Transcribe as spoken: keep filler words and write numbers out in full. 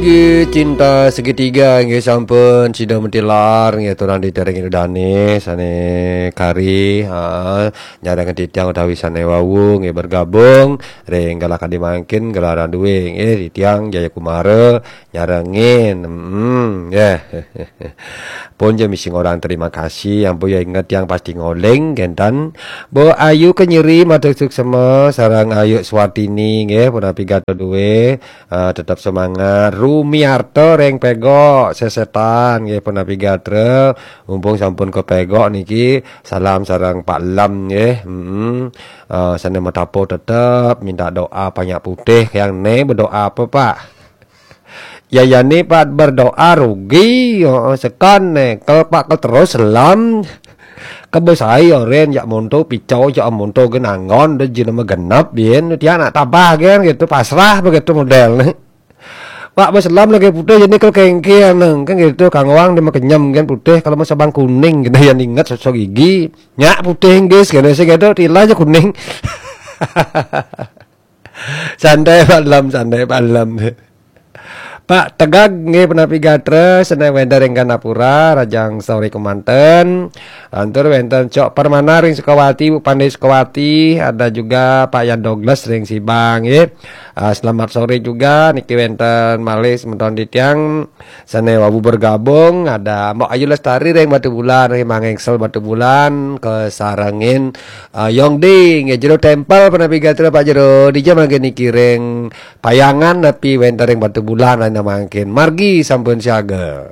Cinta segitiga nggih sampun sida mentilar nggih turang ditereng Ida Dane sane kari, ha, nyareng titiang utawi sane wau nggih bergabung ring galah kadi mangkin gelaran duwe nggih titiang Jaya Kumara nyarengin. Hmm, nggih. Pun ja misi ngorang terima kasih, ampun ya inget yang pasti ngoling gentan. Bu Ayu Kenyeri matur suksema sareng Ayu Swatini nggih punapi gatra duwe. Ah, tetap semangat. Rumiarto ring Pegok Sesetan nggih punapi gatra. Mumpung sampun ke Pegok niki, salam sareng Pak Lam nggih. Heeh. Ah, sane matapo tetep minta doa banyak putih yang ne berdoa apa, Pak? Ya, ya ni Pak berdoa rugi, heeh, sekan ne. Kalau Pak ke terus selam, kebesai oren jak monto picau jak monto genangon de jin nama genep bien tiang nak tabah gen gitu pasrah begitu model ne. Pak berselam lagi putih jadi kalau kengkian neng kan gitu kangwang dia makenyem kan putih kalau mau sabang kuning gitu yang ingat sosok gigi nyak putih inggris gitu sih gitu tilah aja kuning. Santai Pak Lam, santai Pak Lam. Pak Tegag nggih punapi gatra sane wenten ring Gandapura, rajang sore kemanten. Lantur wenten Cok Permana ring Sukawati, Bu Pande Sukawati, ada juga Pak Yan Douglas ring Sibang nggih. Ah, selamat sore juga niki wenten malih semeton titiang sane wau bergabung, ada Mbok Ayu Lestari ring Batubulan, ring Mangengsel Batubulan, kesarengin ah, Yongdi nggih jero tempel punapi gatra Pak Jero, dija mangkin niki ring Payangan napi wenten ring Batubulan ana mangkin. Margi sampun siaga.